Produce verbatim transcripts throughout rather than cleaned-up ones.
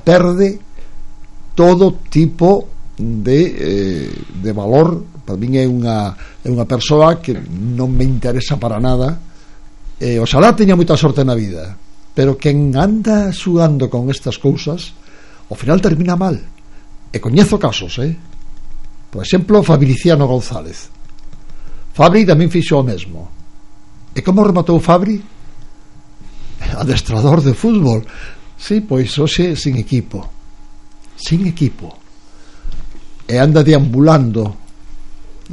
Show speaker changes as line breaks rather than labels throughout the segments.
perde todo tipo de, eh, de valor. Para min é unha, é unha persoa que non me interesa para nada. eh, oxalá teña moita sorte na vida, pero quen anda xugando con estas cousas ao final termina mal. E coñezo casos, eh? Por exemplo, Fabriciano González. Fabri tamén fixo o mesmo. E como rematou Fabri? Adestrador de fútbol. Sí, pois hoxe sin equipo. Sin equipo. E anda deambulando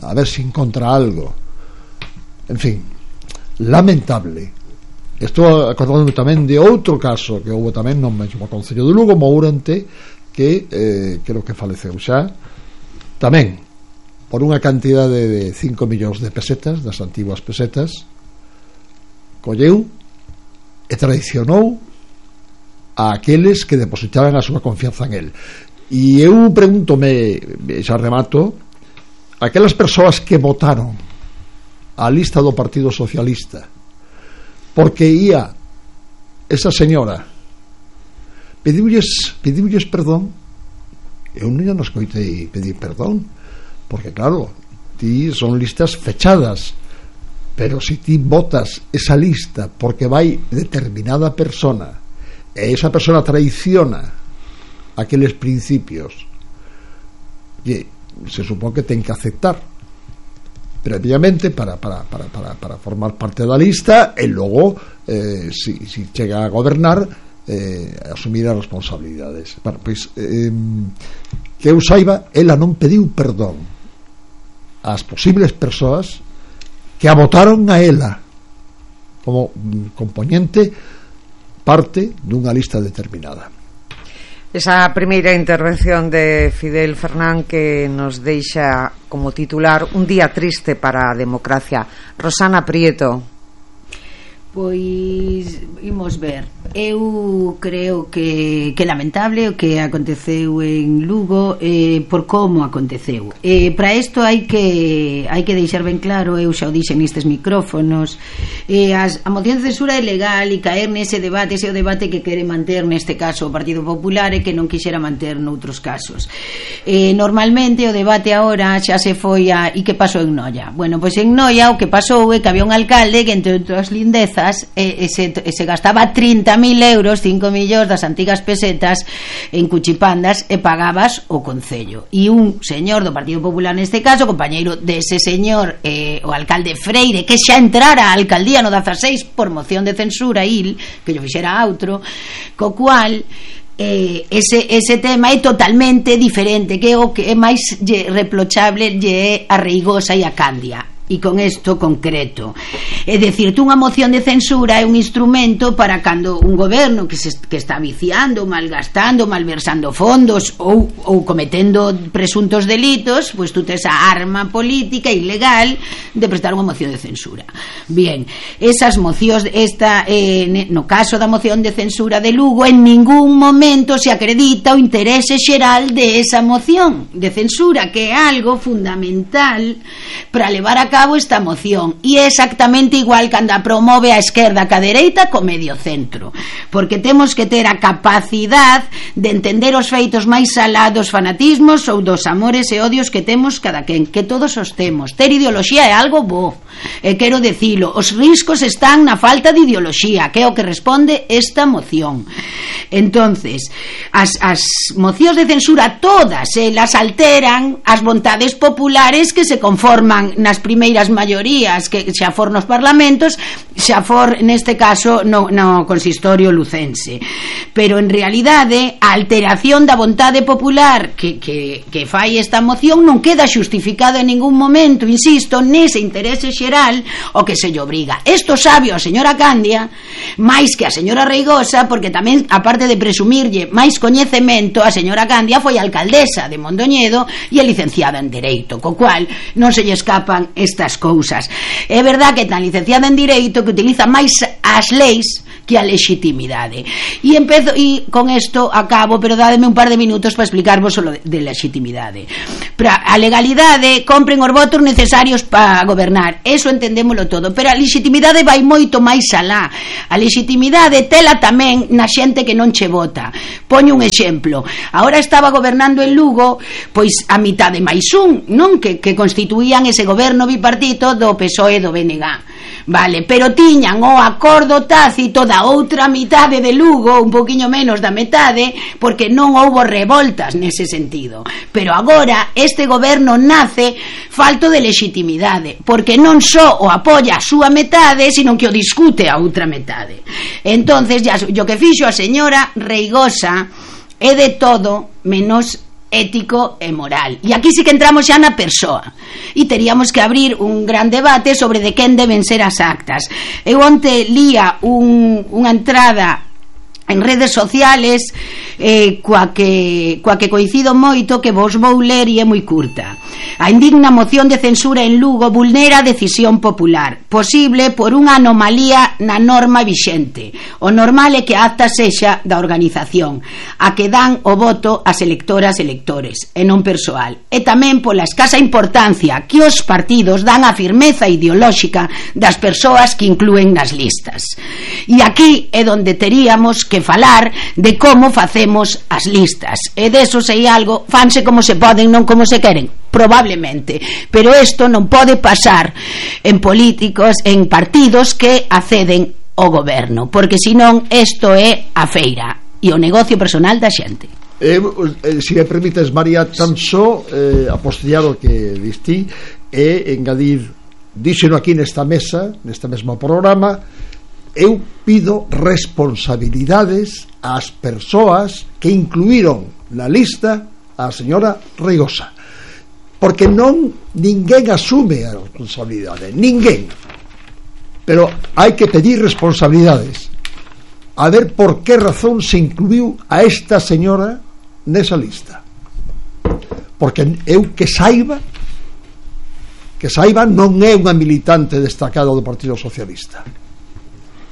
a ver se encontra algo. En fin, lamentable. Estou acordando tamén de outro caso que houve tamén no mesmo concello de Lugo, Mourente, que eh, creo que faleceu xa tamén por unha cantidade de cinco millóns de pesetas, das antiguas pesetas. Colleu e traicionou a aqueles que depositaran a súa confianza en el. E eu pregúntome, xa remato, aquelas persoas que votaron a lista do Partido Socialista porque ia esa señora pediulles, pediulles perdón. Eu non nos coitei pedir perdón, porque claro, ti son listas fechadas, pero se ti votas esa lista porque vai determinada persona e esa persona traiciona aqueles principios, e se supón que ten que aceptar previamente para, para, para, para, para formar parte da lista, e logo eh, si, si chega a gobernar, eh, asumir as responsabilidades. Bueno, pois eh, que eu saiba, ela non pediu perdón ás posibles persoas que a votaron a ela como componente parte dunha lista determinada.
Esa primeira intervención de Fidel Fernán que nos deixa como titular un día triste para a democracia. Rosana Prieto.
Pois imos ver. Eu creo que, que lamentable o que aconteceu en Lugo, eh, por como aconteceu. Eh, para isto hai que hai que deixar ben claro, eu xa o dixen nestes micrófonos, eh, as, a moción de censura é legal, e caer nese debate, ese é o debate que quere manter neste caso o Partido Popular e que non quixera manter noutros casos. Eh, normalmente o debate agora xa se foi a e que pasou en Noia. Bueno, pois en Noia o que pasou é que había un alcalde que entre outras lindezas E, e, se, e se gastaba trinta mil euros, cinco millóns das antigas pesetas en cuchipandas, e pagabas o concello. E un señor do Partido Popular neste caso, compañeiro dese señor, eh, o alcalde Freire, que xa entrara a alcaldía no dezaseis por moción de censura il, que yo fixera outro, co cual Eh, ese, ese tema é totalmente diferente, que o que é máis lle reprochable lle é a Reigosa e a Candia. E con isto concreto, é dicir, unha moción de censura é un instrumento para cando un goberno que, se, que está viciando, malgastando, malversando fondos ou, ou cometendo presuntos delitos, pois tú tes a arma política ilegal de prestar unha moción de censura. Bien, esas mocións, esta, eh, no caso da moción de censura de Lugo, en ningún momento se acredita o interese xeral de esa moción de censura, que é algo fundamental para levar a cabo esta moción, e é exactamente igual cando a promove a esquerda que a dereita co medio centro, porque temos que ter a capacidade de entender os feitos máis alá dos fanatismos ou dos amores e odios que temos cada quen, que todos os temos. Ter ideoloxía é algo bo, e quero decilo, os riscos están na falta de ideoloxía, que é o que responde esta moción. Entonces, as, as mocións de censura todas elas alteran as vontades populares que se conforman nas primeiras maiorías, que xa for nos parlamentos, xa for neste caso no, no consistorio lucense. Pero en realidade a alteración da vontade popular que, que, que fai esta moción non queda xustificada en ningún momento, insisto, nese interese xeral o que se lle obriga. Isto sabe a señora Candia máis que a señora Reigosa, porque tamén, aparte de presumirlle máis coñecemento, a señora Candia foi alcaldesa de Mondoñedo e é licenciada en Dereito, co cual non se lle escapan estas cousas. É verdad que tan licenciada en Direito que utiliza máis as leis que a legitimidade. E empezo, e con isto acabo, pero dádeme un par de minutos para explicarvos o de, de legitimidade. Pero a legalidade compren os votos necesarios para gobernar, eso entendémolo todo, pero a legitimidade vai moito máis alá. A legitimidade tela tamén na xente que non che vota. Poño un exemplo, agora estaba gobernando en Lugo pois a mitad de máis un, non? Que, que constituían ese goberno bipartito do P S O E e do B N G. Vale, pero tiñan o acordo tácito da outra mitade de Lugo, un poquinho menos da metade, porque non houbo revoltas nese sentido. Pero agora este goberno nace falto de legitimidade, porque non só o apoia a súa metade, sino que o discute a outra metade. Entonces, ya, yo que fixo a señora Reigosa é de todo menos ético e moral. E aquí sí que entramos xa na persoa. E teríamos que abrir un gran debate sobre de quen deben ser as actas. Eu onte lía un, unha entrada en redes sociales eh, coa, que, coa que coincido moito, que vos vou ler e é moi curta. A indigna moción de censura en Lugo vulnera a decisión popular, posible por unha anomalía na norma vixente. O normal é que a acta sexa da organización, a que dan o voto as electoras e electores, e non persoal. E tamén pola escasa importancia que os partidos dan á firmeza ideolóxica das persoas que inclúen nas listas. E aquí é onde teríamos que falar de como facemos as listas, e deso sei algo, fanse como se poden, non como se queren, probablemente, pero isto non pode pasar en políticos, en partidos que acceden ao goberno, porque senón isto é a feira e o negocio personal da xente.
Eh, eh, si me permites, María, tan só eh, apostillado que distí e engadir, díxeno aquí nesta mesa, neste mesmo programa, eu pido responsabilidades ás persoas que incluíron na lista a señora Reigosa, porque non ninguén asume a responsabilidade, ninguén, pero hai que pedir responsabilidades, a ver por que razón se incluiu a esta señora nesa lista, porque eu que saiba que saiba non é unha militante destacada do Partido Socialista.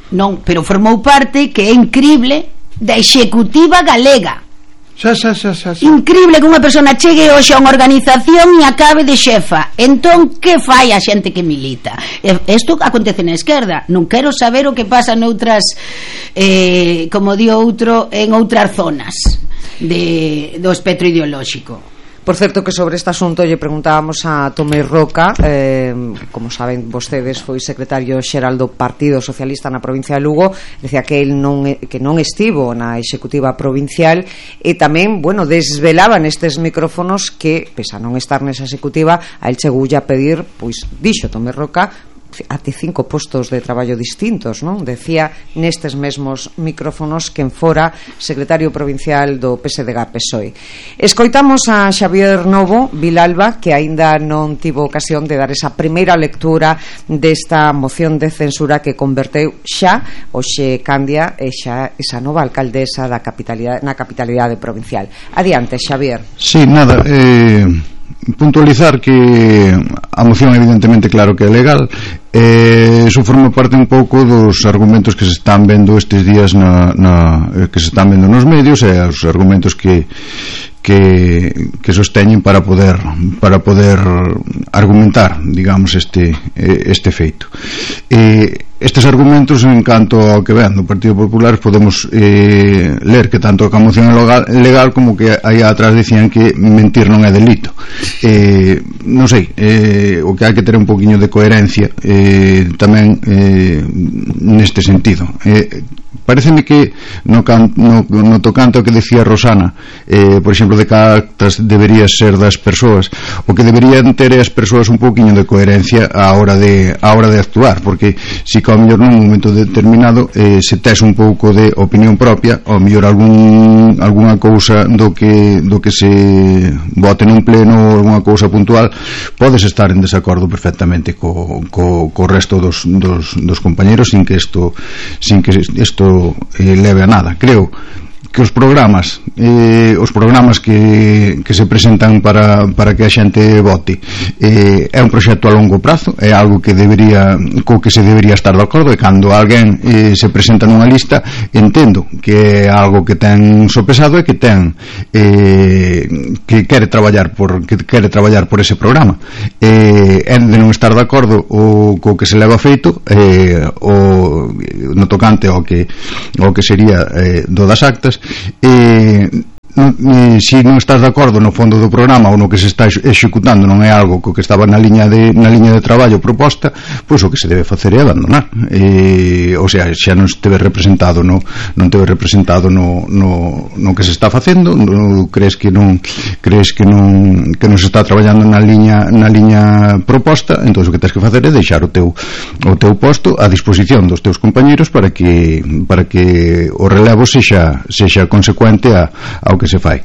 Non, pero formou parte, que é incrible, da executiva galega.
Xa, xa, xa, xa, xa.
Incrible que unha persona chegue hoxe a unha organización e acabe de xefa. Entón, que fai a xente que milita? Isto acontece na esquerda. Non quero saber o que pasa noutras, eh, como di outro, en outras zonas de, do espectro ideolóxico.
Por certo, que sobre este asunto lle preguntábamos a Tomé Roca, eh, como saben vostedes, foi secretario xeral do Partido Socialista na provincia de Lugo, decía que el non, que non estivo na executiva provincial, e tamén, bueno, desvelaba nestes micrófonos que, pese a non estar nesa executiva, a el chegoulle a pedir, pois, dixo Tomé Roca, até cinco postos de traballo distintos, non? Decía nestes mesmos micrófonos que en fora secretario provincial do P S D G P S O E. Escoitamos a Xavier Novo Vilalba, que aínda non tivo ocasión de dar esa primeira lectura desta moción de censura que converteu xa hoxe Candia e xa esa nova alcaldesa da capitalidade, na capitalidade provincial. Adiante, Xavier.
Sí, nada, eh puntualizar que a moción evidentemente claro que é legal, eh, iso forma parte un pouco dos argumentos que se están vendo estes días na, na, que se están vendo nos medios, e os argumentos que que, que sosteñen para poder para poder argumentar, digamos, este este feito. Eh, estes argumentos, en canto ao que ven do Partido Popular, podemos eh, ler que tanto a moción é legal, legal como que aí atrás decían que mentir non é delito. Eh, non sei, eh, o que hai que ter un poquinho de coherencia eh, tamén eh, neste sentido. Eh, pareceme que no, can, no, no tocante ao que decía Rosana, eh, por exemplo, de que actas debería ser das persoas, o que deberían ter as persoas un poquinho de coherencia á hora de, á hora de actuar, porque si ao mellor nun momento determinado eh, se tes un pouco de opinión propia, ao mellor algún, algunha cousa do que, do que se vote nun pleno ou algunha cousa puntual, podes estar en desacordo perfectamente co, co, co resto dos, dos, dos compañeros sin que isto sin que isto eh, leve a nada. Creo que os programas eh, os programas que, que se presentan para, para que a xente vote eh, é un proxecto a longo prazo, é algo que debería co que se debería estar de acordo, e cando alguén eh, se presenta nunha lista, entendo que é algo que ten sopesado e que ten eh, que quere traballar por que quere traballar por ese programa, eh, é de non estar de acordo o co que se leva feito eh, o no tocante ao que ao que sería eh, do das actas, e non, eh, se non estás de acordo no fondo do programa ou no que se está executando non é algo co que estaba na liña de, na liña de traballo proposta, pois o que se debe facer é abandonar, e, ou sea, xa non esteve representado no, non teve representado no, no, no que se está facendo, no, crees que non crees que non que non se está traballando na liña na liña proposta, entón o que tens que facer é deixar o teu o teu posto a disposición dos teus compañeiros para que para que o relevo sexa sexa consecuente a, ao que se fai.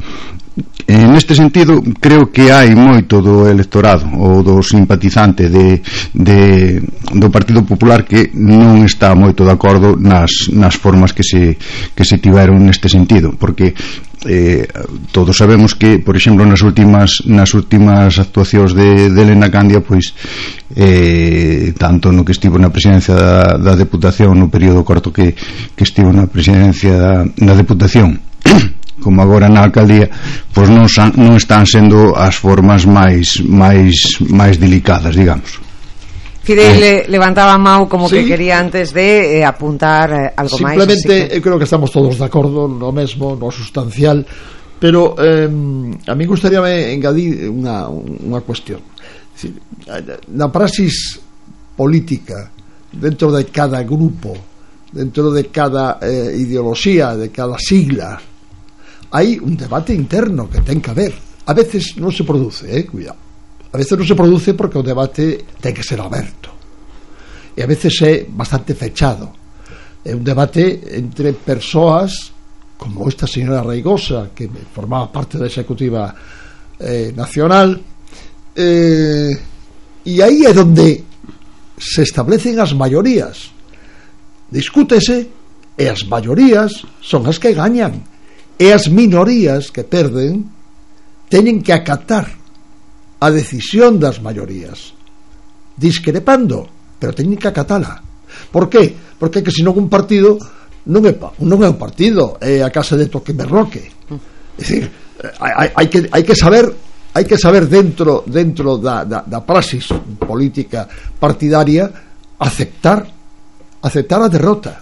En este sentido, creo que hai moito do electorado ou do simpatizante de, de, do Partido Popular que non está moito de acordo nas, nas formas que se, que se tiveron neste sentido, porque eh, todos sabemos que, por exemplo, nas últimas nas últimas actuacións de, de Elena Candia, pois eh, tanto no que estivo na presidencia da, da Deputación, no período corto que, que estivo na presidencia da, da Deputación, como agora na alcaldía, pois non, san, non están sendo as formas máis máis máis delicadas, digamos.
Fidel eh, levantaba a mão como
sí,
que quería antes de eh, apuntar eh, algo máis.
Simplemente, que... eu creo que estamos todos de acordo no mesmo, no sustancial, pero eh, a mí gustaríame engadir unha, unha cuestión. Decir, na praxis política, dentro de cada grupo, dentro de cada eh, ideoloxía, de cada sigla, hai un debate interno que ten que haber. A veces non se produce, eh, cuidado. A veces non se produce porque o debate ten que ser aberto. E a veces é bastante fechado. É un debate entre persoas como esta señora Reigosa, que formaba parte da Executiva eh, Nacional, eh, e aí é donde se establecen as maiorías. Discútese e as maiorías son as que gañan. E as minorías que perden teñen que acatar a decisión das maiorías, discrepando, pero teñen que acatala. Por qué? Porque que senón un partido non é, non é un partido, é a casa de toque berroque. É dicir, hai, hai, que, hai que saber hai que saber dentro dentro da, da, da praxis política partidaria aceptar aceptar a derrota.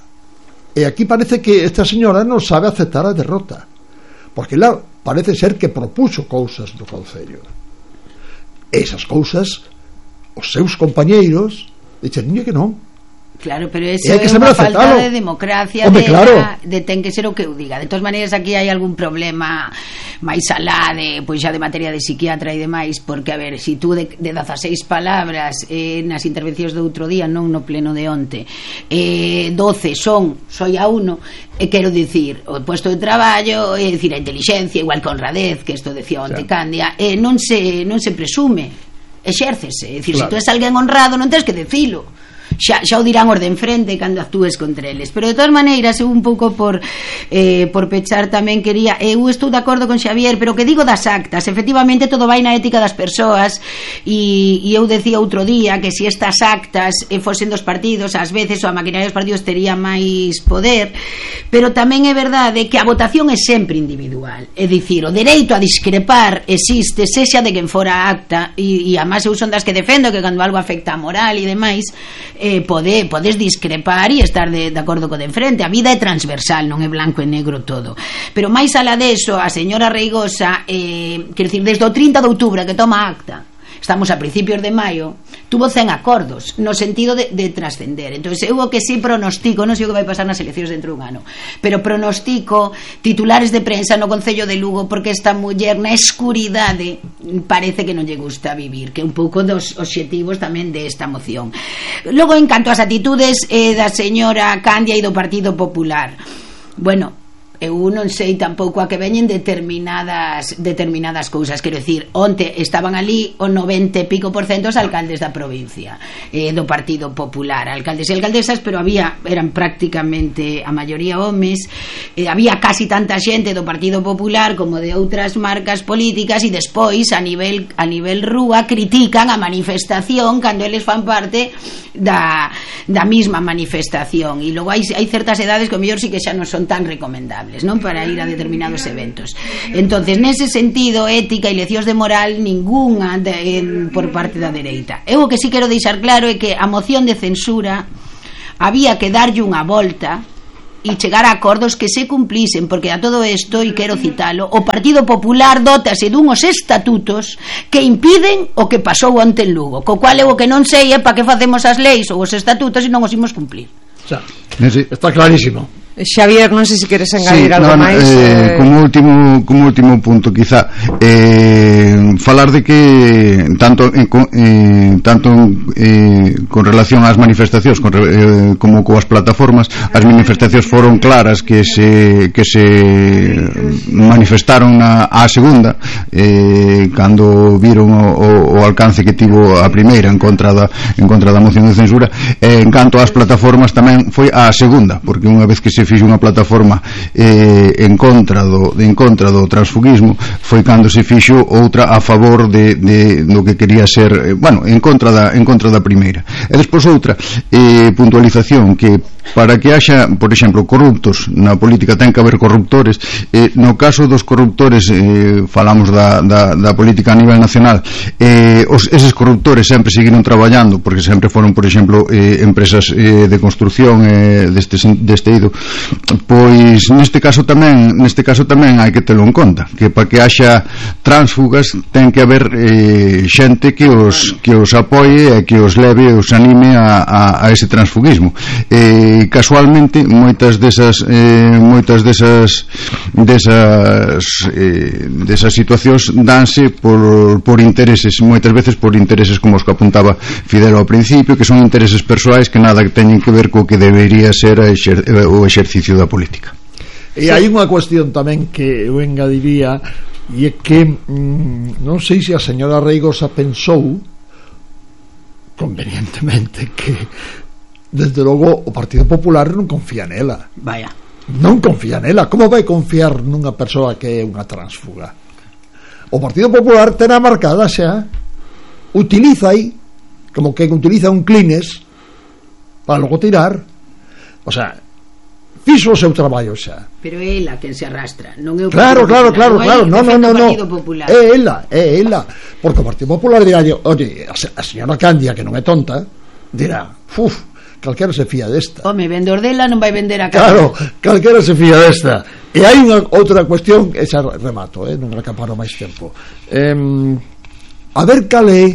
E aquí parece que esta señora non sabe aceptar a derrota, porque lá parece ser que propuxo cousas do Concello, e esas cousas os seus compañeiros dixen que non.
Claro, pero eso é unha falta de democracia. Hombre, de, claro. de ten que ser o que eu diga. De todas maneiras, aquí hai algún problema máis alá de, pois xa de materia de psiquiatra e demais, porque, a ver, si tú de, de dezaseis palabras eh, nas intervencións do outro día, non no pleno de onte, eh, doce son soi a uno, e quero dicir, o posto de traballo, é dicir, a inteligencia, igual que honradez, que isto decía onte, sí, Candia, eh, non se non se presume, exércese. É dicir, claro, se tú és alguén honrado, non tens que decilo. Xa, xa o dirán os de enfrente cando actúes contra eles. Pero de todas maneiras, eu un pouco por eh, por pechar tamén quería, eu estou de acordo con Xavier, pero que digo das actas, efectivamente todo vai na ética das persoas, e, e eu decía outro día que se estas actas eh, fosen dos partidos, ás veces o a maquinaria dos partidos tería máis poder, pero tamén é verdade que a votación é sempre individual. É dicir, o dereito a discrepar existe, sexa de quen fora a acta, e, e a máis eu son das que defendo que cando algo afecta a moral e demais, Eh, pode, podes discrepar e estar de, de acordo co de enfrente. A vida é transversal, non é blanco e negro todo. Pero máis alá deso, a señora Reigosa, eh, quer dicir, desde o trinta de outubro que toma acta, estamos a principios de maio, tuvo cen acordos no sentido de, de trascender. Entón, eu o que sí pronostico, non sei o que vai pasar nas eleccións dentro dun ano, pero pronostico titulares de prensa no Concello de Lugo, porque esta muller na escuridade parece que non lle gusta vivir, que é un pouco dos obxectivos tamén desta moción. Logo, en canto ás atitudes eh, da señora Candia e do Partido Popular, bueno, eu non sei tampouco a que veñen determinadas determinadas cousas, quero dicir, onte estaban ali o noventa e pico por cento os alcaldes da provincia, eh, do Partido Popular, alcaldes e alcaldesas, pero había, eran prácticamente a maioría homes, eh, había casi tanta xente do Partido Popular como de outras marcas políticas, e despois a nivel a nivel rúa critican a manifestación cando eles fan parte da, da misma manifestación, e logo hai, hai certas edades que o mellor sí que xa non son tan recomendables, non, para ir a determinados eventos. Entonces, nese sentido, ética e leccións de moral ningunha de, en, por parte da dereita. Eu o que sí quero deixar claro é que a moción de censura había que darlle unha volta e chegar a acordos que se cumplisen, porque a todo isto, e quero citalo, o Partido Popular dotase dunhos estatutos que impiden o que pasou onte en Lugo, co cual eu o que non sei é para que facemos as leis ou os estatutos e non os imos cumplir.
Xa, está clarísimo.
Xavier, non sei se queres engadir sí, algo
no,
máis
eh, eh... como último como último punto quizá eh, falar de que tanto eh, tanto eh, con relación ás manifestacións con, eh, como coas plataformas, as manifestacións foron claras que se que se manifestaron na, á segunda eh, cando viron o, o, o alcance que tivo a primeira en contra da, en contra da moción de censura, eh, en canto ás plataformas tamén foi á segunda, porque unha vez que se fixo unha plataforma eh, en contra do en contra do transfugismo, foi cando se fixo outra a favor de, de do que quería ser, eh, bueno, en contra da en contra da primeira. E despois outra eh, puntualización, que para que haxa, por exemplo, corruptos na política ten que haber corruptores. Eh, no caso dos corruptores, eh, falamos da, da, da política a nivel nacional, eh, os, eses corruptores sempre seguiron traballando, porque sempre foron, por exemplo, eh, empresas eh, de construcción eh, deste, deste ido. Pois neste caso tamén neste caso tamén hai que telo en conta, que para que haxa tránsfugas ten que haber eh, xente que os que os apoie e que os leve, os anime a, a, a ese transfugismo. Eh, casualmente moitas desas eh, moitas desas desas eh, desas situacións danse por, por intereses, moitas veces por intereses como os que apuntaba Fidel ao principio, que son intereses persoais que nada que teñen que ver co que debería ser a exer, o exercicio da política.
E hai unha cuestión tamén que eu engadiría, e é que mm, non sei se a señora Reigosa pensou convenientemente que desde logo o Partido Popular non confía nela.
Vaya.
Non confía nela. Como vai confiar nunha persoa que é unha tránsfuga? O Partido Popular terá marcada xa, utiliza aí como que utiliza un clines para logo tirar. O sea, fixo o seu traballo xa.
Pero é ela quen se arrastra, non é o
Claro, claro, claro, claro, no, no, no, no. É ela, é ela, porque o Partido Popular dirá, oye, a señora Candia, que non é tonta, dirá, uff, calquera se fía desta.
Home, vendedor dela non vai vender a casa.
Claro, calquera se fía desta. E hai unha outra cuestión, esa remato, eh, non recaparo máis tempo. Eh, a ver cal é,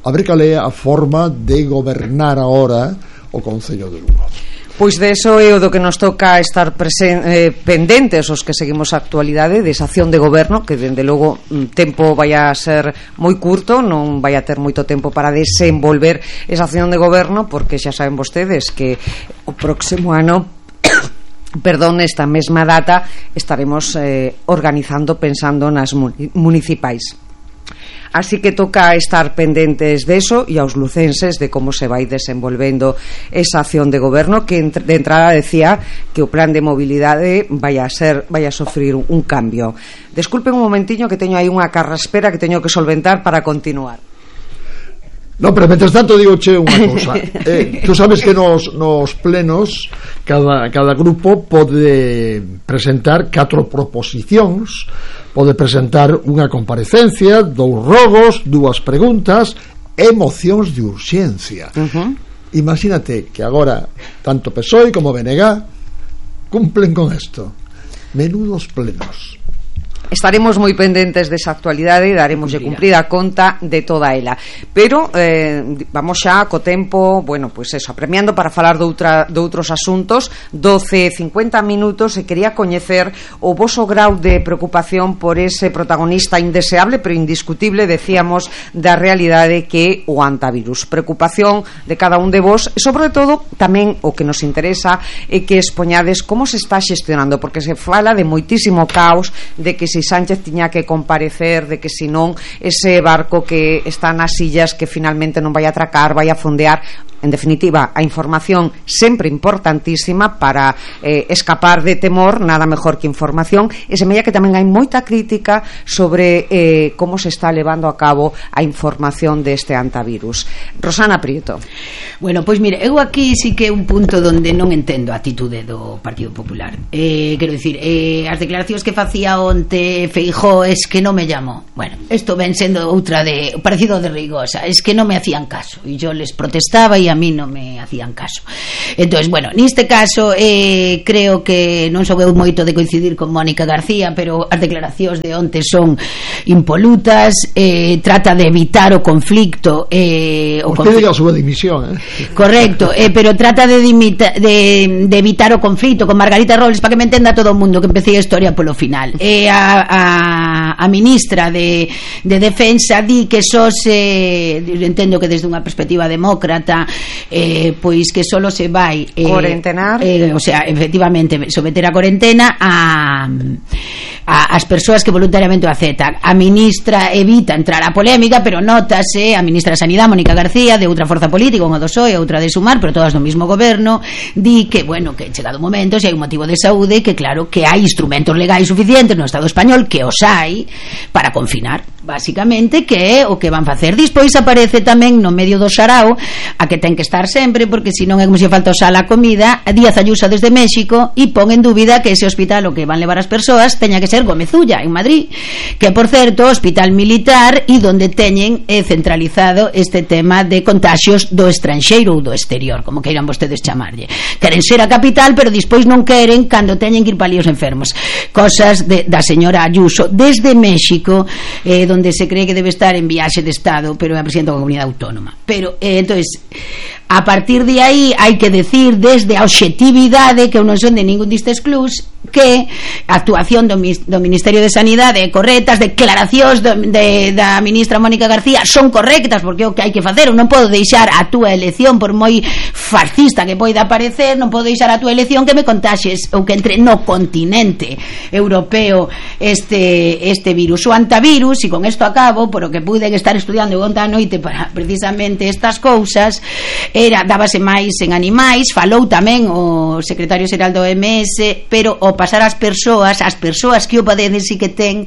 a ver cal é a forma de gobernar agora o Concello de Lugo.
Pois de eso é o do que nos toca estar presen, eh, pendentes os que seguimos a actualidade desa acción de goberno, que dende logo un tempo vai a ser moi curto, non vai a ter moito tempo para desenvolver esa acción de goberno, porque xa saben vostedes que o próximo ano perdón, esta mesma data estaremos eh, organizando, pensando nas municipais. Así que toca estar pendentes de eso e aos lucenses de como se vai desenvolvendo esa acción de goberno, que de entrada decía que o plan de mobilidade vai a ser vai a sofrir un cambio. Desculpen un momentiño que teño aí unha carraspera que teño que solventar para continuar.
No, pero mentres tanto digo che unha cousa. Eh, tú sabes que nos, nos plenos cada, cada grupo pode presentar catro proposicións, pode presentar unha comparecencia, dous rogos, dúas preguntas e mocións de urxencia. Uh-huh. Imagínate que agora tanto P S O E como B N G cumplen con isto. Menudos plenos.
estaremos moi pendentes desa actualidade e daremoslle cumprida conta de toda ela. Pero eh, vamos xa co tempo, bueno, pois pues eso, apremiando para falar de, outra, de outros asuntos. Doce, cincuenta minutos, e quería coñecer o voso grau de preocupación por ese protagonista indeseable pero indiscutible, decíamos, da realidade que o antivirus. Preocupación de cada un de vos, e sobre todo tamén o que nos interesa é que expoñades como se está xestionando, porque se fala de moitísimo caos, de que si Sánchez tiña que comparecer, de que si non ese barco que está nas illas que finalmente non vai a atracar, vai a fondear. En definitiva, a información sempre importantísima para eh, escapar de temor, nada mejor que información. E semella que tamén hai moita crítica sobre eh, como se está levando a cabo a información deste antivirus. Rosana Prieto.
Bueno, pois mire, eu aquí sí que é un punto donde non entendo a atitude do Partido Popular. Eh, quero dicir, eh, as declaracións que facía onte Feijóo es que non me llamó. Bueno, isto ven sendo outra de parecido de Rigosa, es que non me hacían caso e yo les protestaba e a mí non me hacían caso. Entonces, bueno, neste caso eh, creo que non sou eu moito de coincidir con Mónica García, pero as declaracións de onte son impolutas, eh, trata de evitar o conflicto, eh, o
Usted diga a súa dimisión, eh?
Correcto, eh, pero trata de, dimita, de, de evitar o conflito con Margarita Robles, para que me entenda todo o mundo, que empecé a historia polo final. Eh, a, a, a ministra de, de Defensa di que só se, entendo que desde unha perspectiva demócrata, eh, pois que solo se vai eh,
cuarentenar,
eh, o sea, efectivamente someter a cuarentena a, a as persoas que voluntariamente o aceptan. A ministra evita entrar a polémica, pero notase a ministra de Sanidade, Mónica García, de outra forza política, unha do P S O E, outra de Sumar, pero todas do mesmo goberno, di que, bueno, que chegado o momento, se hai un motivo de saúde, que claro que hai instrumentos legais suficientes no Estado español, que os hai para confinar, basicamente, que é o que van facer. Despois aparece tamén no medio do sarao a que ten que estar sempre, porque senón é como se falta o sal a comida, Díaz Ayuso desde México, e pon en dúbida que ese hospital o que van levar as persoas teña que ser Gomezulla, en Madrid, que por certo, hospital militar, e donde teñen eh, centralizado este tema de contaxios do estranxeiro ou do exterior, como queiran vostedes chamarlle. Queren ser a capital, pero despois non queren cando teñen que ir para líos enfermos. Cosas de, da señora Ayuso desde México, eh, donde se cree que debe estar en viaxe de Estado, pero é a presidenta da comunidade autónoma. Pero, eh, entonces, a partir de aí hai que decir desde a obxectividade, que eu non son de ningún distes clubs, que a actuación do, do Ministerio de Sanidade é correcta, as declaracións do, de, da ministra Mónica García son correctas, porque é o que hai que facer. Eu non podo deixar a túa elección, por moi fascista que poida parecer, non podo deixar a túa elección que me contaxes ou que entre no continente europeo este, este virus, o antivirus. E con isto acabo, por o que pude estar estudiando onte a noite para precisamente estas cousas, era, dábase máis en animais, falou tamén o secretario xeral do O M S, pero o pasar ás persoas, as persoas que o padecen si que ten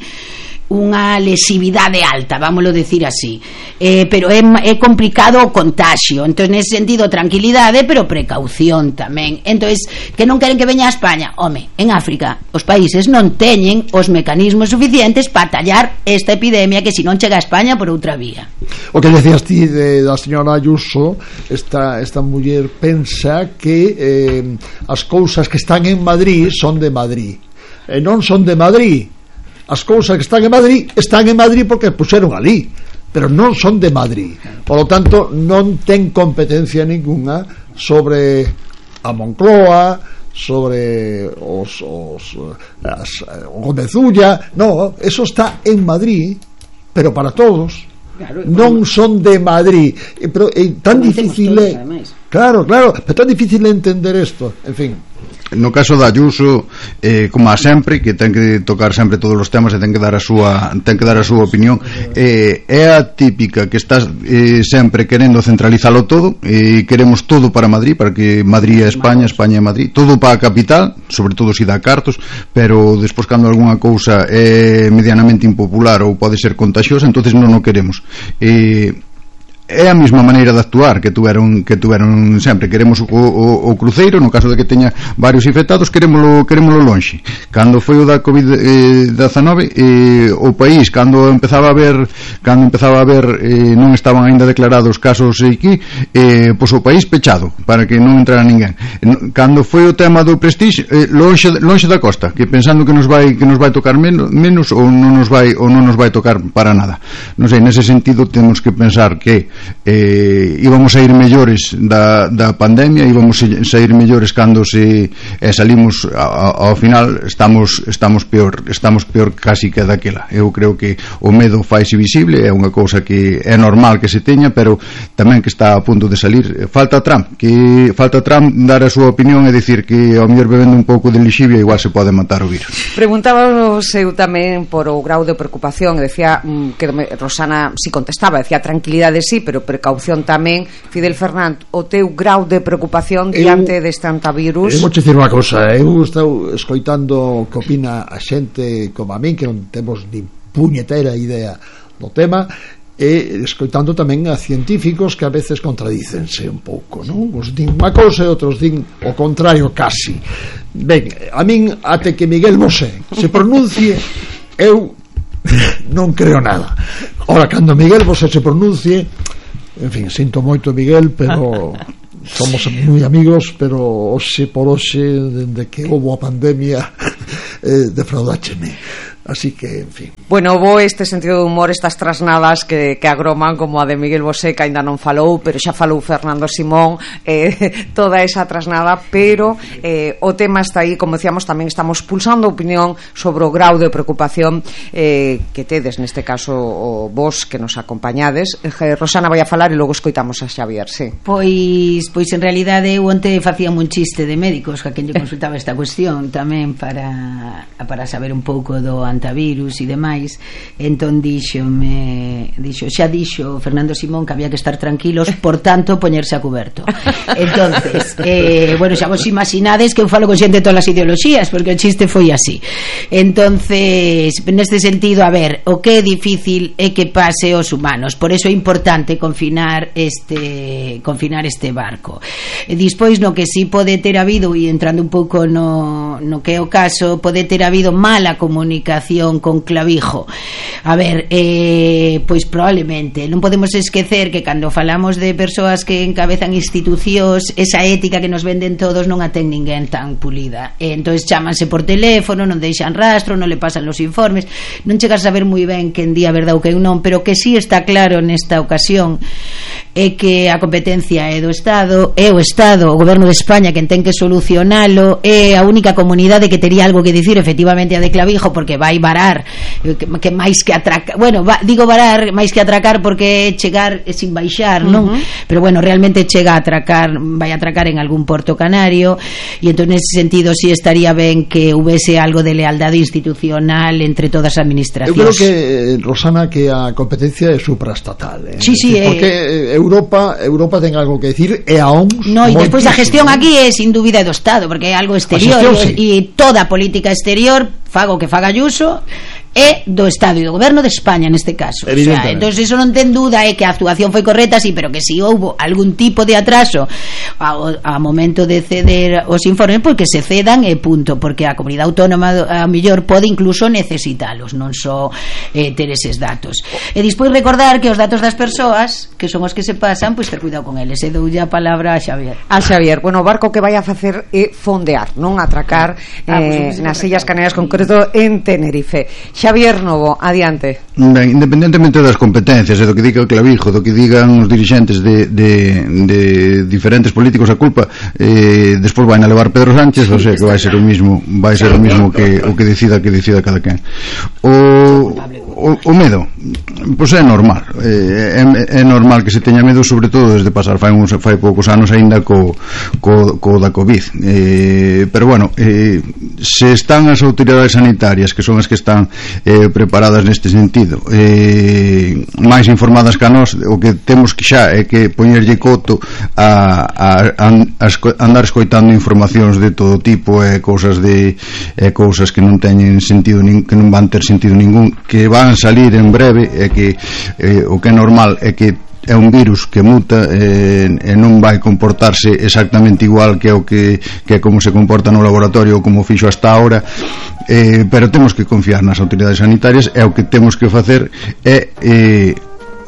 unha lesividade alta, vámoslo decir así, eh, pero é, é complicado o contagio. Entón, nese sentido, tranquilidade, pero precaución tamén. Entón, que non queren que veña a España? Home, en África os países non teñen os mecanismos suficientes para tallar esta epidemia, que se non chega a España por outra vía.
O que decías ti de, da señora Ayuso, esta, esta muller pensa que eh, as cousas que están en Madrid son de Madrid, e non son de Madrid. As cousas que están en Madrid están en Madrid porque puxeron ali, pero non son de Madrid. Por lo tanto, non ten competencia ninguna sobre a Moncloa, sobre os, os as, o Gomezulla. No, eso está en Madrid, pero para todos. Claro, non son de Madrid. Pero é tan difícil, todos, claro, claro, pero tan difícil entender isto. En fin,
no caso da Ayuso, eh, como a sempre, que ten que tocar sempre todos os temas e ten que dar a súa ten que dar a súa opinión, eh, é a típica que estás eh, sempre querendo centralizalo todo, e eh, queremos todo para Madrid, para que Madrid é España, España é Madrid, todo para a capital, sobre todo se dá cartos, pero despois cando algunha cousa é medianamente impopular ou pode ser contagiosa, entonces non o queremos. eh é a mesma maneira de actuar que tuveron que tuveron sempre. Queremos o, o, o cruceiro, no caso de que teña varios infectados, querémolo, querémolo lonxe. Cando foi o da covid dezenove, eh, o país, cando empezaba a ver cando empezaba a ver eh, non estaban aínda declarados casos aquí, eh, pois o país pechado, para que non entrara ninguén. Cando foi o tema do Prestige, eh, lonxe, lonxe da costa, que pensando que nos vai que nos vai tocar menos, menos ou non nos vai ou non nos vai tocar para nada. Non sei, nese sentido temos que pensar que eh, íbamos a ir mellores da, da pandemia, íbamos a sair mellores cando se eh, salimos a, ao final estamos estamos peor, estamos peor casi que daquela. Eu creo que o medo faise visible, é unha cousa que é normal que se teña, pero tamén que está a punto de salir. Falta Trump, que falta Trump dar a súa opinión e dicir que ao mellor bebendo un pouco de lixivia igual se pode matar o virus.
Preguntábamos eu tamén por o grau de preocupación, e decía mm, que Rosana si contestaba, decía tranquilidade sí, pero precaución tamén. Fidel Fernández, o teu grau de preocupación diante eu, deste antivirus?
Eu vou te dicir unha cousa, eu estou escoitando que opina a xente como a min, que non temos nin puñetera idea do tema, e escoitando tamén a científicos que a veces contradícense un pouco, non? Os din unha cousa e outros din o contrario casi. Ben, a min até que Miguel Bosé se pronuncie, eu non creo nada. Ora, cando Miguel Bosé se pronuncie, en fin, sinto moito Miguel, pero somos moi amigos, pero hoxe por hoxe, dende que houve a pandemia, eh, defraudácheme. Así que, en fin.
Bueno, bo este sentido de humor, estas trasnadas que, que agroman, como a de Miguel Bosé, que ainda non falou, pero xa falou Fernando Simón, eh, toda esa trasnada, pero eh, o tema está aí, como decíamos, tamén estamos pulsando opinión sobre o grau de preocupación eh, que tedes, neste caso, o vos que nos acompañades. Eh, Rosana vai a falar e logo escoitamos a Xavier, sí.
Pois, pois en realidade, eu onte facía un chiste de médicos, que a quen lle consultaba esta cuestión, tamén para, para saber un pouco do antivirus e demais. Entón díxome, dixo, xa dixo Fernando Simón que había que estar tranquilos, por tanto poñerse a cuberto. Entonces, eh, bueno, xa vos imaginades que eu falo con xente de todas as ideoloxías, porque o chiste foi así. Entonces, neste sentido, a ver, o que é difícil é que pase aos humanos, por eso é importante confinar este confinar este barco. E dispois, no que si pode ter habido, e entrando un pouco no, no que é o caso, pode ter habido mala comunicación con Clavijo. A ver, eh, pois probablemente non podemos esquecer que cando falamos de persoas que encabezan institucións, esa ética que nos venden todos non a ten ninguén tan pulida. E entonces chámanse por teléfono, non deixan rastro, non le pasan los informes, non chegas a saber moi ben quen di a verdade ou quen non, pero que sí está claro nesta ocasión é que a competencia é do Estado, é o Estado, o Goberno de España quen ten que solucionalo, é a única comunidade que tería algo que dicir efectivamente a de Clavijo, porque vai varar, que, que máis que atracar, bueno, va, digo varar máis que atracar porque chegar é sin baixar, non? Uh-huh. Pero bueno, realmente chega a atracar, vai a atracar en algún porto canario, e entón nese sentido si sí estaría ben que houvese algo de lealdade institucional entre todas as administracións.
Eu creo que, Rosana, que a competencia é supraestatal, eh?
Sí, sí,
porque
eh...
Europa Europa ten algo que decir, e a O M S
no, e despois a gestión aquí é sin dúbida do Estado, porque é algo exterior, e sí. Toda a política exterior, fago que faga Ayuso, é do Estado e do Goberno de España neste caso. O sea, entonces eso non ten duda, é que a actuación foi correcta, sí, pero que si houbo algún tipo de atraso ao, ao momento de ceder os informes, pois que se cedan e punto, porque a comunidade autónoma a mellor pode incluso necesitalos, non só eh, ter eses datos. E despois recordar que os datos das persoas, que son os que se pasan, pois ter cuidado con eles. E doulle a palabra a Xavier.
A Xavier, bueno, o barco que vai a facer é fondear, non atracar eh, ah, pues, nas Illas Canarias, concreto en Tenerife. Xavier Novo, adiante.
Ben, independentemente das competencias e do que diga o Clavijo, do que digan os dirixentes de, de, de diferentes políticos, a culpa eh, despois vai a levar Pedro Sánchez, ou sea que vai ser o mismo, vai ser o mismo que o que decida que decida cada quen. O, o, o medo, pois é normal, eh, é, é normal que se teña medo, sobre todo desde pasar fai uns fai poucos anos aínda co, co, co da Covid, eh, pero bueno, eh, se están as autoridades sanitarias, que son as que están eh, preparadas neste sentido, eh, máis informadas que a nós, o que temos que xa é que poñerlle coto a, a, a, a andar escoitando informacións de todo tipo e cousas de e cousas que non teñen sentido, que non van ter sentido ningún, que van salir en breve, e que eh, o que é normal é que é un virus que muta e, e non vai comportarse exactamente igual que o que, que como se comporta no laboratorio ou como fixo hasta ahora, eh, pero temos que confiar nas autoridades sanitarias, e o que temos que facer é eh,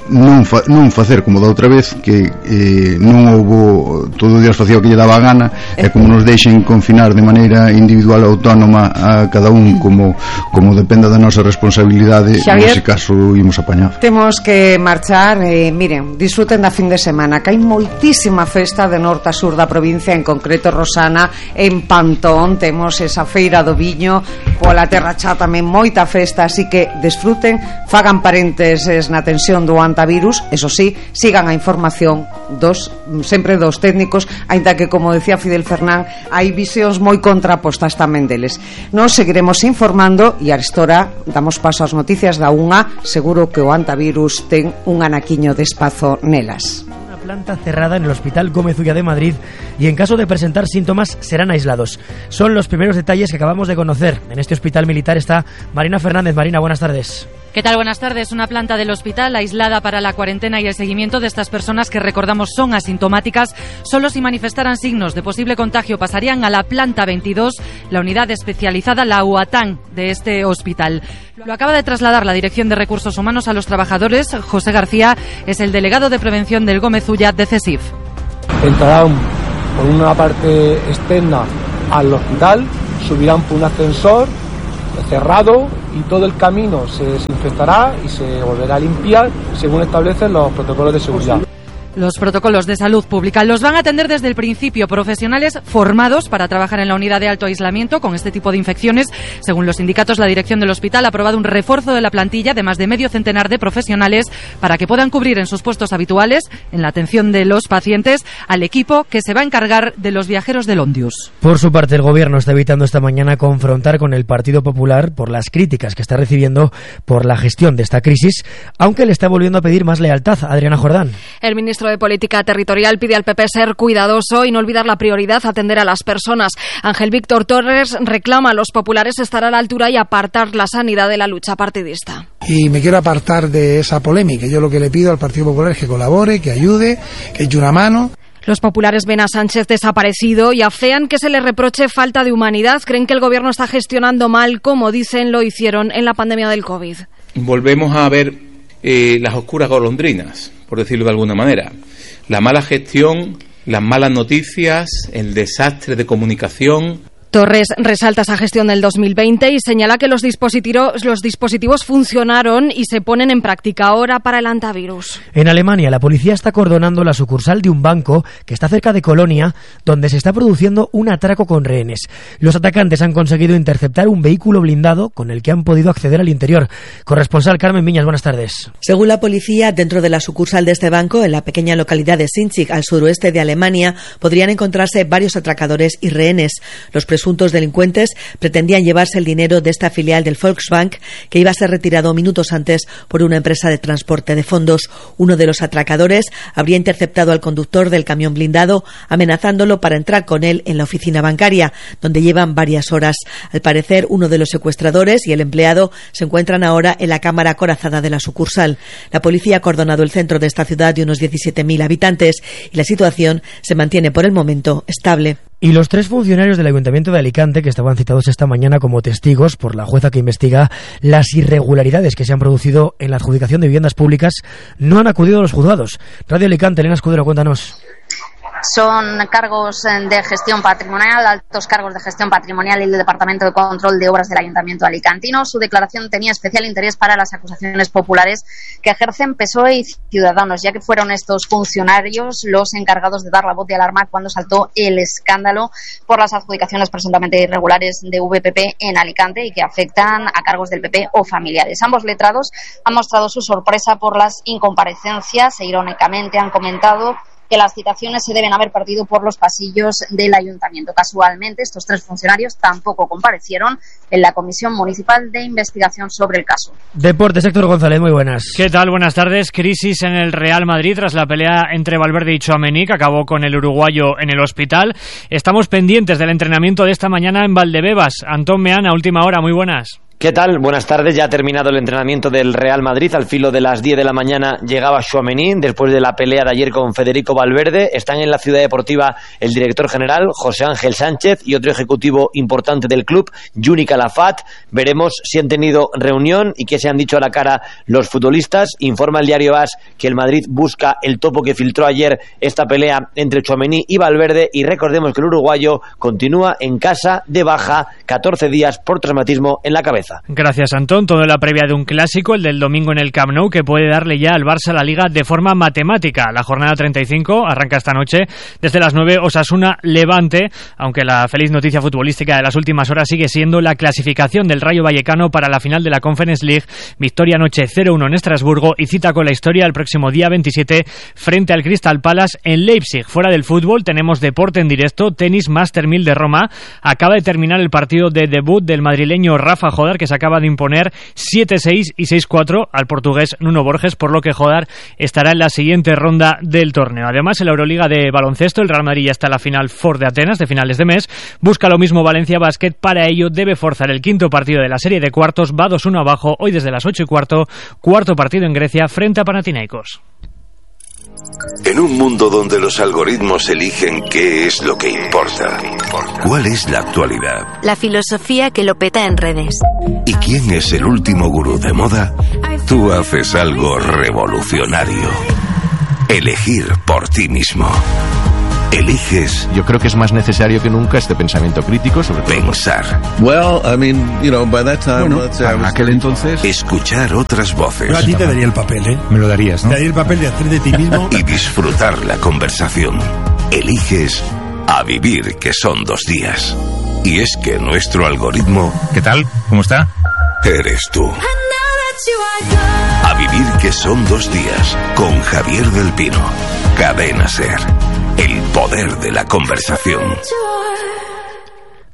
non, fa, non facer como da outra vez, que eh, non houbo, todo o día facía o que lle daba a gana, e como nos deixen confinar de maneira individual autónoma a cada un como, como dependa da nosa responsabilidade, nese caso imos apañar.
Temos que marchar, eh, miren, disfruten da fin de semana, que hai moitísima festa de norte a sur da provincia, en concreto Rosana, en Pantón temos esa feira do viño, pola Terra Chá tamén moita festa, así que disfruten, fagan parénteses na tensión do virus, eso sí, sigan a información dos, sempre dos técnicos, aínda que, como decía Fidel Fernán, hai visións moi contrapostas tamén deles. Nos seguiremos informando e a estora damos paso ás noticias da unha. Seguro que o antivirus ten un anaquiño de espazo nelas.
Planta cerrada en el Hospital Gómez Ulla de Madrid, y en caso de presentar síntomas serán aislados. Son los primeros detalles que acabamos de conocer. En este hospital militar está Marina Fernández. Marina, buenas tardes.
¿Qué tal? Buenas tardes. Una planta del hospital aislada para la cuarentena y el seguimiento de estas personas que, recordamos, son asintomáticas. Solo si manifestaran signos de posible contagio pasarían a la planta veintidós, la unidad especializada, la U A T A N de este hospital. Lo acaba de trasladar la Dirección de Recursos Humanos a los trabajadores. José García es el delegado de prevención del Gómez Ulla de CESIF.
Entrarán por una parte externa al hospital, subirán por un ascensor cerrado y todo el camino se desinfectará y se volverá a limpiar según establecen los protocolos de seguridad.
Los protocolos de salud pública los van a atender desde el principio profesionales formados para trabajar en la unidad de alto aislamiento con este tipo de infecciones. Según los sindicatos, la dirección del hospital ha aprobado un refuerzo de la plantilla de más de medio centenar de profesionales para que puedan cubrir en sus puestos habituales, en la atención de los pacientes, al equipo que se va a encargar de los viajeros del Ondius.
Por su parte, el Gobierno está evitando esta mañana confrontar con el Partido Popular por las críticas que está recibiendo por la gestión de esta crisis, aunque le está volviendo a pedir más lealtad. Adriana Jordán.
El ministro de Política Territorial pide al P P ser cuidadoso y no olvidar la prioridad, atender a las personas. Ángel Víctor Torres reclama a los populares estar a la altura y apartar la sanidad de la lucha partidista.
Y me quiero apartar de esa polémica. Yo lo que le pido al Partido Popular es que colabore, que ayude, que eche una mano.
Los populares ven a Sánchez desaparecido y afean que se le reproche falta de humanidad. Creen que el gobierno está gestionando mal, como dicen lo hicieron en la pandemia del COVID.
Volvemos a ver eh, las oscuras golondrinas, por decirlo de alguna manera. La mala gestión, las malas noticias, el desastre de comunicación.
Torres resalta esa gestión del dos mil veinte y señala que los dispositivos, los dispositivos funcionaron y se ponen en práctica ahora para el antivirus.
En Alemania, la policía está acordonando la sucursal de un banco que está cerca de Colonia, donde se está produciendo un atraco con rehenes. Los atacantes han conseguido interceptar un vehículo blindado con el que han podido acceder al interior. Corresponsal Carmen Viñas, buenas tardes.
Según la policía, dentro de la sucursal de este banco, en la pequeña localidad de Sinzig, al suroeste de Alemania, podrían encontrarse varios atracadores y rehenes. Los presuntos delincuentes pretendían llevarse el dinero de esta filial del Volksbank, que iba a ser retirado minutos antes por una empresa de transporte de fondos. Uno de los atracadores habría interceptado al conductor del camión blindado, amenazándolo para entrar con él en la oficina bancaria, donde llevan varias horas. Al parecer, uno de los secuestradores y el empleado se encuentran ahora en la cámara acorazada de la sucursal. La policía ha acordonado el centro de esta ciudad de unos diecisiete mil habitantes y la situación se mantiene por el momento estable.
Y los tres funcionarios del Ayuntamiento de Alicante, que estaban citados esta mañana como testigos por la jueza que investiga las irregularidades que se han producido en la adjudicación de viviendas públicas, no han acudido a los juzgados. Radio Alicante, Elena Escudero, cuéntanos.
Son cargos de gestión patrimonial, altos cargos de gestión patrimonial y el Departamento de Control de Obras del Ayuntamiento alicantino. Su declaración tenía especial interés para las acusaciones populares que ejercen P S O E y Ciudadanos, ya que fueron estos funcionarios los encargados de dar la voz de alarma cuando saltó el escándalo por las adjudicaciones presuntamente irregulares de V P P en Alicante y que afectan a cargos del P P o familiares. Ambos letrados han mostrado su sorpresa por las incomparecencias e irónicamente han comentado que las citaciones se deben haber partido por los pasillos del ayuntamiento. Casualmente, estos tres funcionarios tampoco comparecieron en la Comisión Municipal de Investigación sobre el caso.
Deportes, Héctor González, muy buenas.
¿Qué tal? Buenas tardes. Crisis en el Real Madrid tras la pelea entre Valverde y Tchouaméni, que acabó con el uruguayo en el hospital. Estamos pendientes del entrenamiento de esta mañana en Valdebebas. Antón Meana, última hora, muy buenas.
¿Qué tal? Buenas tardes. Ya ha terminado el entrenamiento del Real Madrid. Al filo de las diez de la mañana llegaba Tchouaméni después de la pelea de ayer con Federico Valverde. Están en la Ciudad Deportiva el director general, José Ángel Sánchez, y otro ejecutivo importante del club, Juni Calafat. Veremos si han tenido reunión y qué se han dicho a la cara los futbolistas. Informa el diario AS que el Madrid busca el topo que filtró ayer esta pelea entre Tchouaméni y Valverde, y recordemos que el uruguayo continúa en casa de baja, catorce días por traumatismo en la cabeza.
Gracias, Antón. Todo en la previa de un clásico, el del domingo en el Camp Nou, que puede darle ya al Barça la Liga de forma matemática. La jornada treinta y cinco arranca esta noche desde las nueve, Osasuna-Levante, aunque la feliz noticia futbolística de las últimas horas sigue siendo la clasificación del Rayo Vallecano para la final de la Conference League. Victoria anoche cero uno en Estrasburgo y cita con la historia el próximo día veintisiete frente al Crystal Palace en Leipzig. Fuera del fútbol tenemos deporte en directo, tenis Master mil de Roma. Acaba de terminar el partido de debut del madrileño Rafa Jodar, que se acaba de imponer siete seis y seis cuatro al portugués Nuno Borges, por lo que Jodar estará en la siguiente ronda del torneo. Además, en la Euroliga de baloncesto, el Real Madrid ya está en la final Ford de Atenas de finales de mes. Busca lo mismo Valencia Basket. Para ello debe forzar el quinto partido de la serie de cuartos. Va dos uno abajo hoy desde las ocho y cuarto. Cuarto partido en Grecia frente a Panathinaikos.
En un mundo donde los algoritmos eligen qué es lo que importa, ¿cuál es la actualidad?
La filosofía que lo peta en redes.
¿Y quién es el último gurú de moda? Tú haces algo revolucionario. Elegir por ti mismo. Eliges.
Yo creo que es más necesario que nunca este pensamiento crítico sobre todo.
Pensar.
Well, I mean, you know, by that time,
bueno,
let's say
en aquel entonces.
Escuchar otras voces.
Yo a ti te daría el papel, ¿eh?
Me lo darías, ¿no?
Te daría el papel de hacer de ti mismo.
Y disfrutar la conversación. Eliges a vivir, que son dos días. Y es que nuestro algoritmo.
¿Qué tal? ¿Cómo está?
Eres tú. A vivir, que son dos días. Con Javier del Pino. Cadena SER. El poder de la conversación.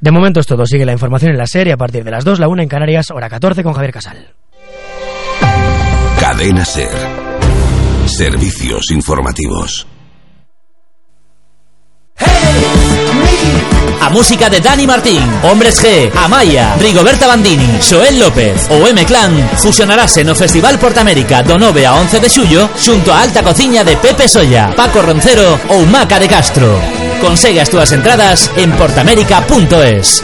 De momento es todo. Sigue la información en la serie a partir de las dos, la una en Canarias, hora catorce con Javier Casal.
Cadena SER. Servicios informativos.
A música de Dani Martín, Hombres G, Amaya, Rigoberta Bandini, Xoel López o M-Clan fusionarase no Festival Portamérica do nove a once de xullo xunto a alta cociña de Pepe Solla, Paco Roncero ou Maca de Castro. Consegue as túas entradas en portamérica punto es.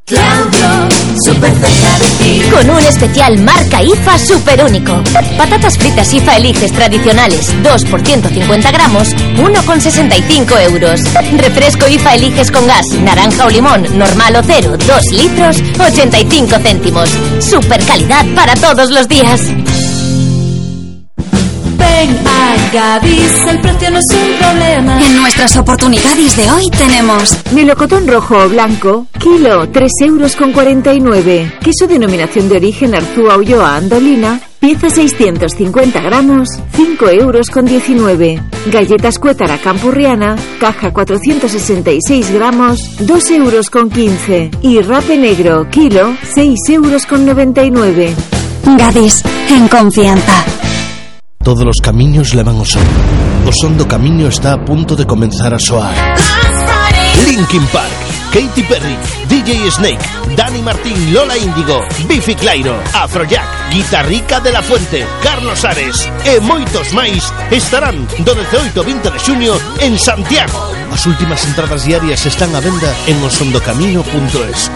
Claudio, súper cerca de ti. Con un especial marca I F A súper único. Patatas fritas I F A Eliges tradicionales, dos por ciento cincuenta gramos, uno con sesenta y cinco euros. Refresco I F A Eliges con gas, naranja o limón, normal o cero, dos litros, ochenta y cinco céntimos. Super calidad para todos los días.
Ven a Gadis, el precio no es un problema.
En nuestras oportunidades de hoy tenemos
melocotón rojo o blanco, kilo, tres euros con cuarenta y nueve. Queso denominación de origen Arzúa Ulloa Andolina, pieza seiscientos cincuenta gramos, cinco euros con diecinueve. Galletas Cuétara Campurriana, caja cuatrocientos sesenta y seis gramos, dos euros con quince. Y rape negro, kilo, seis euros con noventa y nueve.
Gadis, en confianza.
Todos los camiños levan ao son. O son do camiño está a punto de comenzar a soar. Linkin Park, Katy Perry, D J Snake, Dani Martín, Lola Índigo, Bifi Clyro, Afrojack, Guitarrica de la Fuente, Carlos Ares e moitos máis estarán do dezaoito ao vinte de xuño en Santiago. As últimas entradas diarias están a venda en osondocamiño punto es.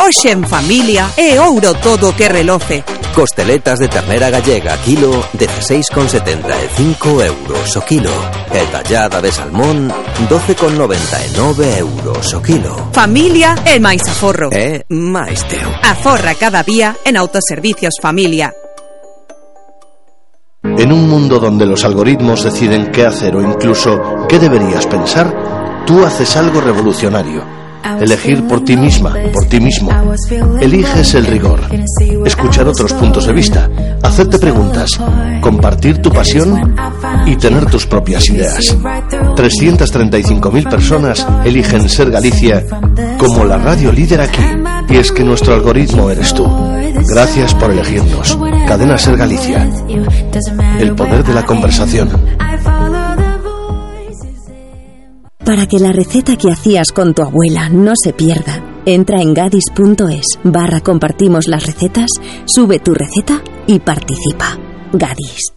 Hoxe en familia é ouro todo que reloce.
Costeletas de ternera gallega kilo, dezasseis con setenta e cinco euros o kilo. E tallada de salmón, doce con noventa e nove euros o kilo.
Familia é máis aforro.
É máis teu.
Aforra cada día en Autoservicios Familia.
En un mundo donde los algoritmos deciden qué hacer o incluso qué deberías pensar, tú haces algo revolucionario. Elegir por ti misma, por ti mismo. Eliges el rigor. Escuchar otros puntos de vista. Hacerte preguntas. Compartir tu pasión y tener tus propias ideas. trescientas treinta y cinco mil personas eligen Ser Galicia como la radio líder aquí. Y es que nuestro algoritmo eres tú. Gracias por elegirnos. Cadena Ser Galicia. El poder de la conversación.
Para que la receta que hacías con tu abuela no se pierda,
Entra en gadis.es barra compartimos las recetas, sube tu receta y participa. Gadis.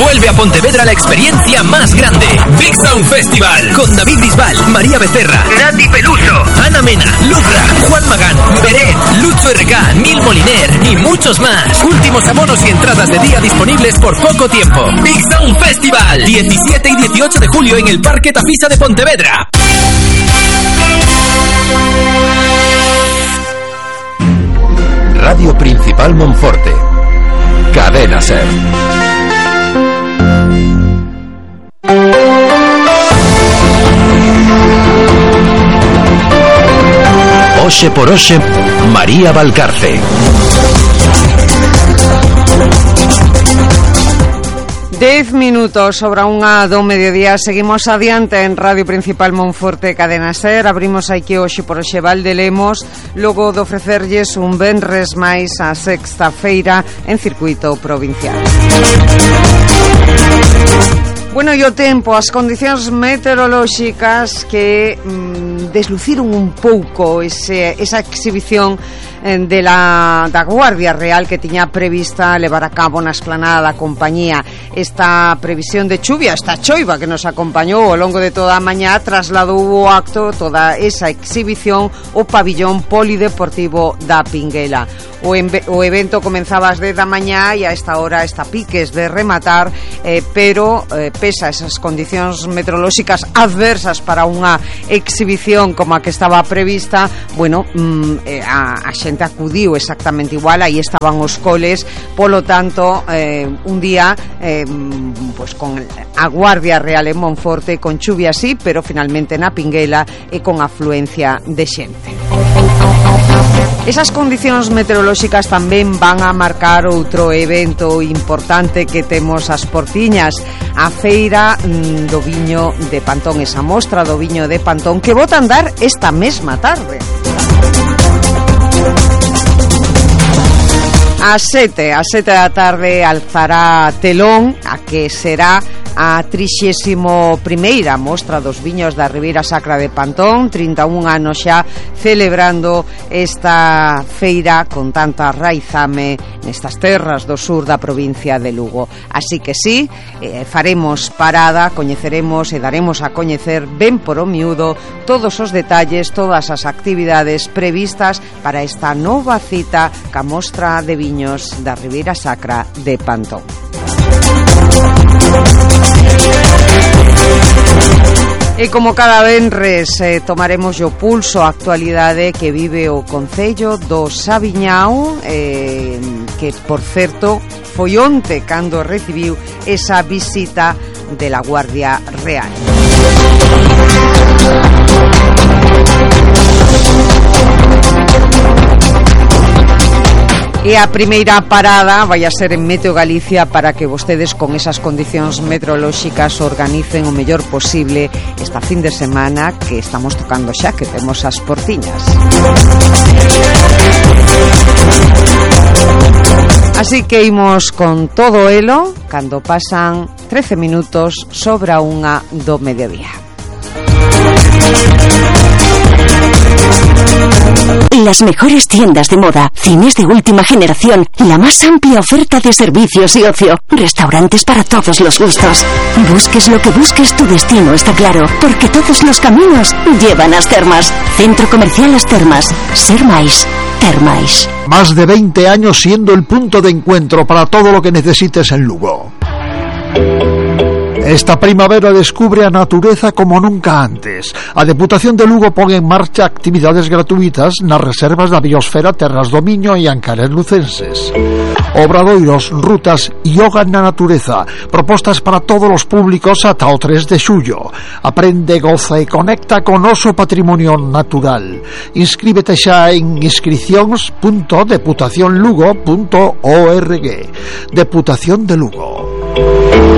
Vuelve a Pontevedra la experiencia más grande. Big Sound Festival. Con David Bisbal, María Becerra, Nati Peluso, Ana Mena, Lucra, Juan Magán, Beret, Lucho R K, Nil Moliner y muchos más. Últimos abonos y entradas de día disponibles por poco tiempo. Big Sound Festival. diecisiete y dieciocho de julio en el Parque Tafisa de Pontevedra.
Radio Principal Monforte. Cadena Ser. Oxe por Oxe, María Valcarce.
Dez minutos sobre unha do mediodía. Seguimos adiante en Radio Principal Monforte, Cadena Ser. Abrimos aquí hoxe por Oxe Valdelemos, logo de ofrecerlles un venres máis a sexta feira en circuito provincial. Bueno, e o tempo, as condicións meteorolóxicas que mm, desluciron un pouco ese, esa exhibición eh, de la, da Guardia Real que tiña prevista levar a cabo na esplanada da compañía. Esta previsión de chuvia, esta choiva que nos acompañou ao longo de toda a mañá, trasladou o acto, toda esa exhibición, o pabillón polideportivo da Pinguela. O, enve, o evento comenzaba ás dez da mañá e a esta hora está piques de rematar, eh, pero eh, pesa esas condicións meteorolóxicas adversas para unha exhibición como a que estaba prevista, bueno, mm, eh, a, a xente acudiu exactamente igual, aí estaban os coles, polo tanto, eh, un día eh, pues con a Guardia Real en Monforte, con chuvia sí, pero finalmente na Pinguela e con afluencia de xente. Esas condicións meteorolóxicas tamén van a marcar outro evento importante que temos ás portiñas, a feira mm, do viño de Pantón, esa mostra do viño de Pantón que bota a andar esta mesma tarde. A sete, a sete da tarde alzará telón a que será a trixésimo primeira mostra dos viños da Ribeira Sacra de Pantón, trinta e un anos xa celebrando esta feira con tanta raizame nestas terras do sur da provincia de Lugo. Así que sí, eh, faremos parada, coñeceremos e daremos a coñecer ben por o miúdo todos os detalles, todas as actividades previstas para esta nova cita ca mostra de viños da Ribeira Sacra de Pantón. E como cada venres eh, tomaremos o pulso a actualidade que vive o Concello do Sabiñao, eh, que, por certo, foi onte cando recibiu esa visita de la Guardia Real. E a primeira parada vai a ser en Meteo Galicia para que vostedes con esas condicións meteorolóxicas organicen o mellor posible esta fin de semana que estamos tocando xa, que temos as portiñas. Así que imos con todo elo cando pasan trece minutos sobre a unha do mediodía.
Las mejores tiendas de moda, cines de última generación, la más amplia oferta de servicios y ocio, restaurantes para todos los gustos. Busques lo que busques, tu destino está claro, porque todos los caminos llevan a As Termas. Centro Comercial As Termas. Ser máis, ter máis.
Más de veinte años siendo el punto de encuentro para todo lo que necesites en Lugo. Esta primavera descubre a natureza como nunca antes. A Deputación de Lugo pon en marcha actividades gratuitas nas reservas da biosfera Terras do Miño e Ancares Lucenses. Obradoiros, rutas, yoga na natureza, propostas para todos os públicos ata o tres de xullo. Aprende, goza e conecta con noso patrimonio natural. Inscríbete xa en inscricións punto deputación lugo punto org. Deputación de Lugo.